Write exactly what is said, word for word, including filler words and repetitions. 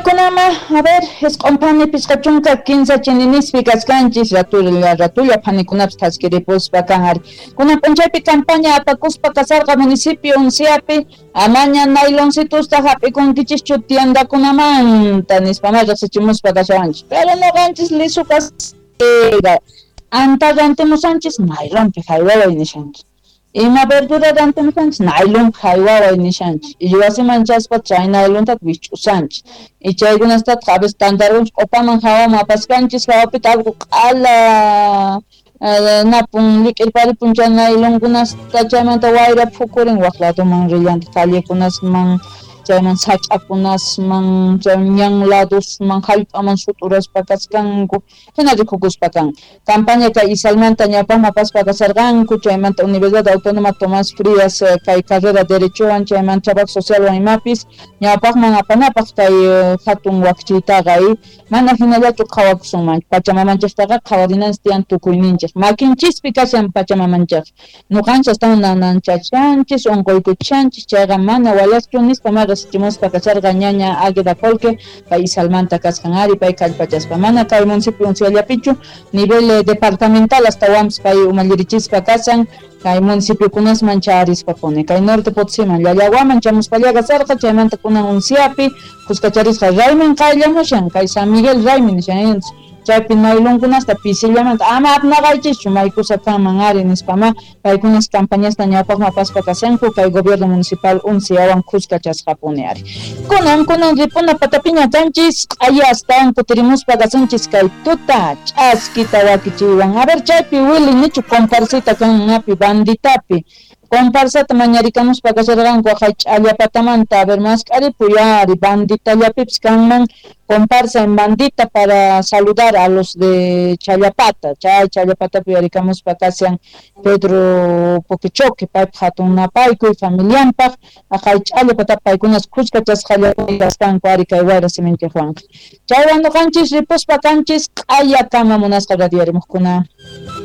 Kunama, a ver, isq'un pichqa chunka kinsa chininispi kaskanchis ratulla ratulla phanikunapis thaskiripuspa kan ari. Kunan p'unchaypi campaña apakuspa kasarqa municipio Unciapi, amaña nayloncitusta hap'ikunkichischu tiendakunamanta nispa ma riqsichimuspa kashawanchis. Pero nuqanchis lisu kasqa anta rantimusanchis naylonpi haywaway nishanchis. Ima verdura rantimusanchis naylonpi haywaway nishanchis. Y wasiman chaspa chay naylontata wich'usanchis. Y chaykunastataq a veces tantarunchis q'upaman hawaman apaskanchis hawapita algo q'ala napun lik'irparipun chay naylonkunasta chaymanta wayra phukurin waq ladoman rillantaq callekunasman chayman sach'akunasman chay ñan ladosman hallp'aman sut'uraspa kaskanku hina rikukuspa kan. Campaña kay Isalmanta ñawpaqman apaspa kasarqanku chaymanta Universidad Autónoma Tomás Frías kay carrera derechowan chaymanta trabajo socialwan imapis ñawpaqman apanapaq kay hatun wakchiytaqa mana hinallachu qhawakusunman pachamamanchiktaqa qhawarinanchis tiyan tukuyninchik makinchispi kashan pachamamanchik nuqanchis astawan nananchachanchis unquykuchanchis chayqa mana walaschu nispa ma riqsichimuspa kasharqa ñaña Águeda Colque pay Isalmanta kasqan ari pay kallpachaspa mana kay municipio Unciallapichu nivel departamental astawanpis pay umallirichispa kasan kay municipiokunasman charispa puni kay Norte Potosiman Llallawaman chamuspallaqa kasarqa chaymanta kunan Unciapi kuskacharisqa raymin qayllamushan kay San Miguel raymin nishan chaypi naylonkunasta pisillamanta ama apnaqaychischu maykusa kanman ari nispa ma paykunas campañasta ñawpaqman apaspa kashanku kay gobierno municipal Unciawan kuskachasqapuni ari. Kunan kunan ripuna patapiña kanchis q'aya astawan kutirimuspa kasunchis kay tuta ch'askita wakichiywan. A ver chaypi Willy nichu comparsita kannapi banditapi comparsata mañarikamuspa kasharqanku aqhay ch'allapatamanta a ver mask'aripuy ari banditallapipis kanman comparsa en bandita para saludar a los de Challapata, chay Challapatapi yarikamuspa kashan Pedro Poquechoque paypaq hatun napaykuy familianpaq aqhay Challapatapi paykunas kuskachasqallapuni kasqanku ari kay wayra siminchikwanqa. Chaywan nuqanchis ripuspa kanchis q'ayakama munasqa radiarimuqkuna.